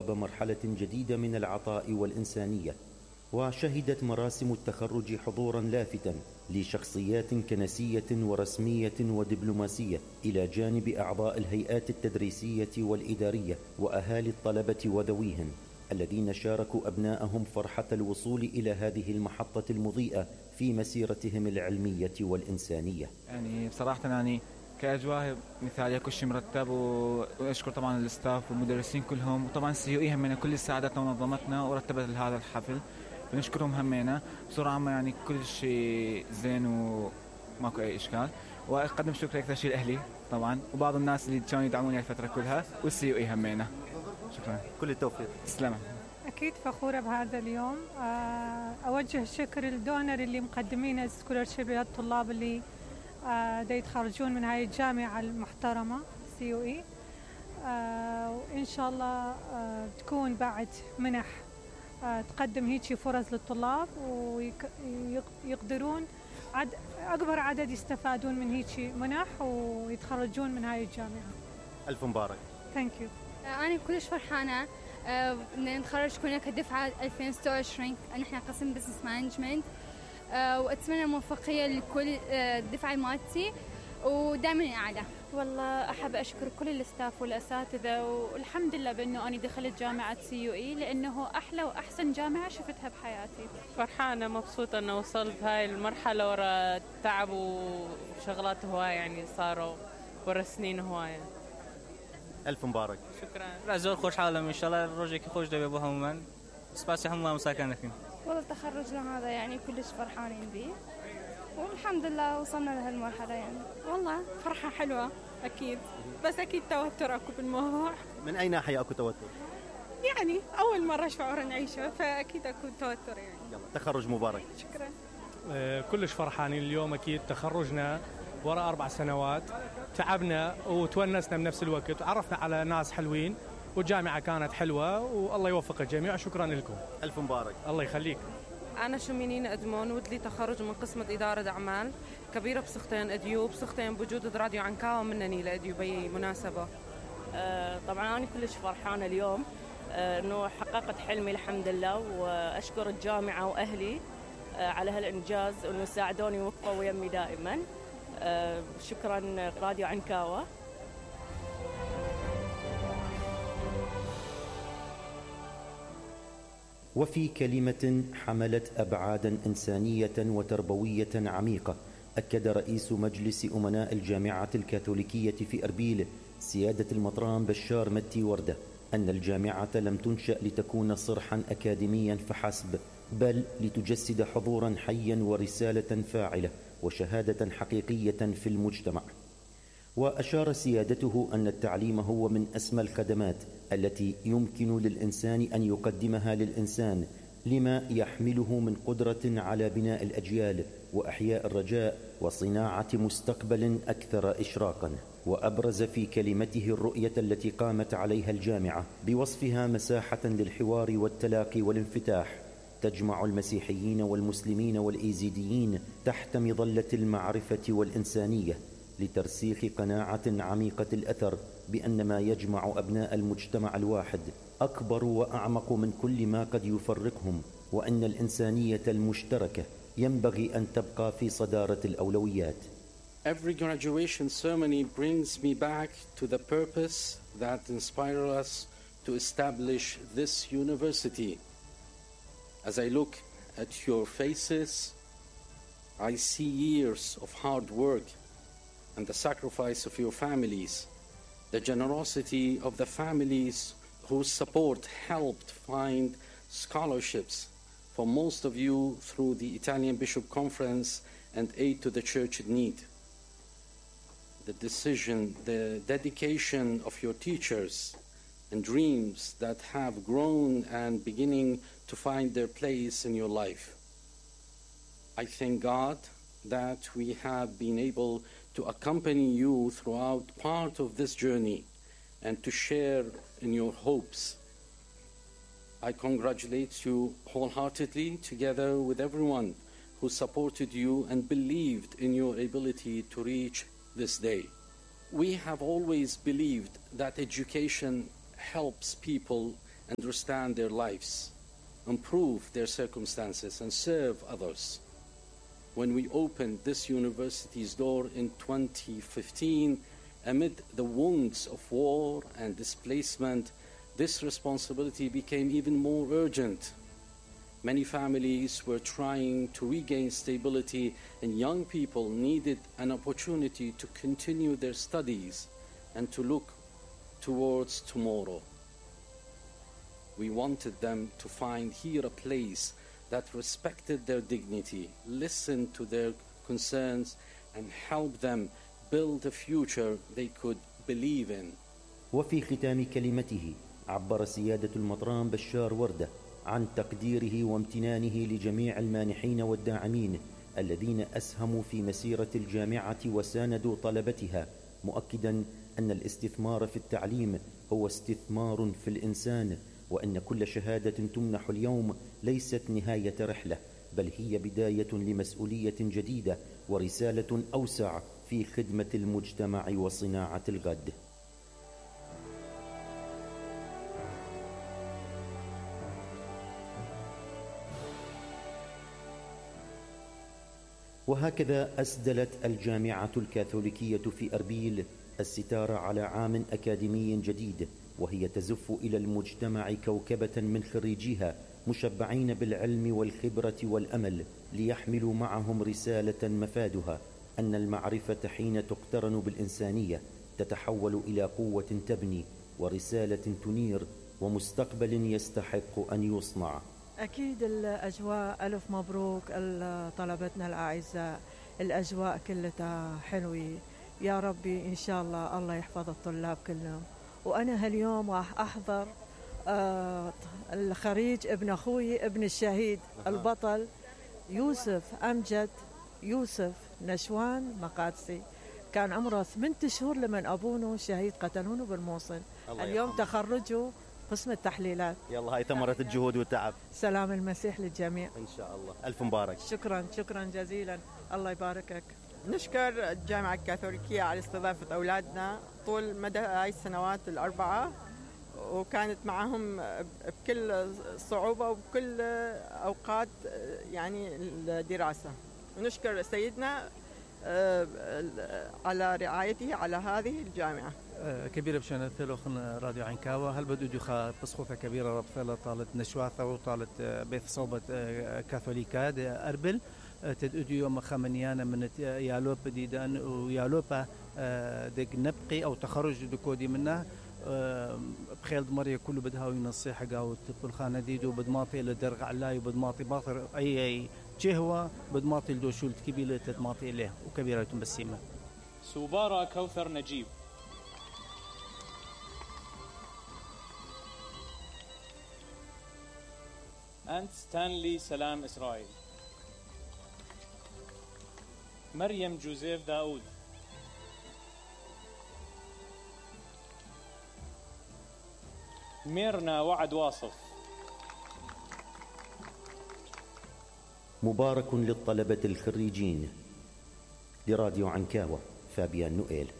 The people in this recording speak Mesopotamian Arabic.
مرحلة جديدة من العطاء والإنسانية، وشهدت مراسم التخرج حضورا لافتا لشخصيات كنسية ورسمية ودبلوماسية، إلى جانب أعضاء الهيئات التدريسية والإدارية وأهالي الطلبة وذويهم الذين شاركوا أبناءهم فرحة الوصول إلى هذه المحطة المضيئة في مسيرتهم العلمية والإنسانية. يعني بصراحة كأجواء مثالية، كل شيء مرتب، وأشكر طبعا الستاف والمدرسين كلهم، وطبعا CUE همنا كل ساعدتنا ونظمتنا ورتبت لهذا الحفل، بنشكرهم همنا بصورة عامة. كل شيء زين وماكو أي إشكال. وأقدم شكر أكثر شيء لأهلي طبعا، وبعض الناس اللي كانوا يدعموني الفترة كلها، والCUE همنا. شكرا، كل التوفيق. تسلم. أكيد فخورة بهذا اليوم. أوجه شكر للدونر اللي مقدمين السكولرشيب للطلاب اللي دا يتخرجون من هاي الجامعة المحترمة CUE. وإن شاء الله تكون بعد منح تقدم هيك فرص للطلاب ويقدرون أكبر عدد يستفادون من هيك منح ويتخرجون من هاي الجامعة. ألف مبارك. Thank you. أنا كلش فرحانة إن نتخرج كلنا كدفعة 2026. نحن قسم بزنس مانجمنت، وأتمنى موفقية لكل الدفعة مالتي ودائما أعلى. والله أحب أشكر كل الستاف والأساتذة، والحمد لله بأنه أنا دخلت جامعة CUE لأنه أحلى وأحسن جامعة شفتها بحياتي. فرحانة مبسوطة أنه وصلت هاي المرحلة ورا تعب وشغلات هواية، يعني صاروا ورا سنين هواية. ألف مبارك. شكرا. العزور خوش حالهم إن شاء الله الروجك خوش دبي أبوها ومن سباسي حمام مساكنكم. والله تخرجنا هذا يعني كلش فرحانين به، والحمد لله وصلنا لهالمرحلة. يعني والله فرحة حلوة أكيد، بس أكيد توتر أكو بالموضوع. من أي ناحية أكو توتر؟ يعني أول مرة شعور نعيشه، فأكيد أكو توتر يعني. يلا تخرج مبارك. شكرا. كلش فرحانين اليوم، أكيد تخرجنا وراء 4 سنوات، تعبنا وتونسنا بنفس الوقت، وعرفنا على ناس حلوين، والجامعة كانت حلوة، والله يوفق الجميع. شكرا لكم. ألف مبارك. الله يخليك. أنا شمينين أدمون، ودلي تخرج من قسمة إدارة أعمال كبيرة بسختين أديو بسختين بوجود راديو عنكاوة منني لأديو بي مناسبة. طبعا أنا كلش فرحانة اليوم أنه حققت حلمي الحمد لله، وأشكر الجامعة وأهلي على هالإنجاز وأنه ساعدوني ووقفوا ويمي دائما. شكرا راديو عنكاوة. وفي كلمة حملت أبعادا إنسانية وتربوية عميقة، أكد رئيس مجلس أمناء الجامعة الكاثوليكية في أربيل سيادة المطران بشار متي وردة أن الجامعة لم تنشأ لتكون صرحا أكاديميا فحسب، بل لتجسد حضورا حيا ورسالة فاعلة وشهادة حقيقية في المجتمع. وأشار سيادته أن التعليم هو من أسمى الخدمات التي يمكن للإنسان أن يقدمها للإنسان، لما يحمله من قدرة على بناء الأجيال وأحياء الرجاء وصناعة مستقبل أكثر إشراقا. وأبرز في كلمته الرؤية التي قامت عليها الجامعة بوصفها مساحة للحوار والتلاقي والانفتاح، تجمع المسيحيين والمسلمين والإيزيديين تحت مظلة المعرفة والإنسانية، لترسيخ قناعة عميقة الأثر بأن ما يجمع أبناء المجتمع الواحد أكبر وأعمق من كل ما قد يفرقهم، وأن الإنسانية المشتركة ينبغي أن تبقى في صدارة الأولويات. Every graduation ceremony brings me back to the purpose that inspired us to establish this university. As I look at your faces, I see years of hard work and the sacrifice of your families, the generosity of the families whose support helped find scholarships for most of you through the Italian Bishop Conference and Aid to the Church in Need. The decision, the dedication of your teachers and dreams that have grown and beginning to find their place in your life. I thank God that we have been able to accompany you throughout part of this journey and to share in your hopes. I congratulate you wholeheartedly together with everyone who supported you and believed in your ability to reach this day. We have always believed that education helps people understand their lives, improve their circumstances, and serve others. When we opened this university's door in 2015, amid the wounds of war and displacement, this responsibility became even more urgent. Many families were trying to regain stability, and young people needed an opportunity to continue their studies and to look towards tomorrow. We wanted them to find here a place that respected their dignity, listened to their concerns, and helped them build a future they could believe in. وفي ختام كلمته عبر سيادة المطران بشار وردة عن تقديره وامتنانه لجميع المانحين والداعمين الذين أسهموا في مسيرة الجامعة وساندوا طلبتها، مؤكدا أن الاستثمار في التعليم هو استثمار في الإنسان، وأن كل شهادة تمنح اليوم ليست نهاية رحلة، بل هي بداية لمسؤولية جديدة ورسالة أوسع في خدمة المجتمع وصناعة الغد. وهكذا أسدلت الجامعة الكاثوليكية في أربيل الستار على عام أكاديمي جديد، وهي تزف إلى المجتمع كوكبة من خريجيها مشبعين بالعلم والخبرة والأمل، ليحملوا معهم رسالة مفادها أن المعرفة حين تقترن بالإنسانية تتحول إلى قوة تبني ورسالة تنير ومستقبل يستحق أن يصنع. أكيد الأجواء ألف مبروك طلبتنا الأعزاء، الأجواء كلها حلوة يا ربي، إن شاء الله يحفظ الطلاب كلهم. وأنا هاليوم راح أحضر الخريج ابن أخوي ابن الشهيد البطل يوسف أمجد يوسف نشوان مقادسي، كان عمره 8 شهور لما أبوه شهيد قتلونه بالموصل. اليوم تخرجه قسم التحليلات. يلا هاي ثمرة الجهود والتعب. سلام المسيح للجميع إن شاء الله. ألف مبارك. شكرا جزيلا، الله يباركك. نشكر الجامعة الكاثوليكية على استضافة أولادنا طول مدى هاي السنوات ال4، وكانت معهم بكل صعوبة وبكل أوقات يعني الدراسة. ونشكر سيدنا على رعايته على هذه الجامعة. كبيرة بشأن ثلوخن راديو عنكاوة هل بدو دخا بسخوثة كبيرة ربطة طالت نشواثة وطالت بيث صوبة كاثوليكا أربل تدودو يوم خامنيانا من يالوب ديدان ويالوبا دق نبقي أو تخرج دكودي منه بخيل دمرية كله بدها وينصيحة قاو بالخانة ديدو بدماطي لدرغ علاي وبدماطي باطر أي جهوة بدماطي لدوشول كبيرة تدماطي إليه وكبيرة بسيمة. سوبارا كوثر نجيب. أنت ستانلي سلام إسرائيل. مريم جوزيف داود. ميرنا وعد واصف. مبارك للطلبة الخريجين. لراديو عنكاوة، فابيان نوئيل.